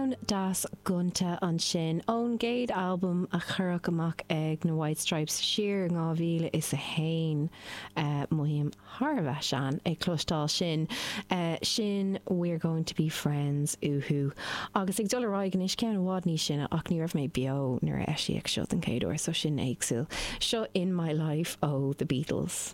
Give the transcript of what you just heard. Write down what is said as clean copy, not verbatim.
Ceann deas gonta ansin ón gcéad albam a cuireadh amach ag na White Stripes siar in 2001. Mothaím thar a bheith sean ag cloisteáil sin. Sin We're Going To Be Friends uathu. Agus ag dul ar aghaidh anois, ceann i bhfad níos sine ach ní raibh mé beo nuair a eisíodh seo den chéad uair so sin éagsúil. Seo In My Life ó The Beatles.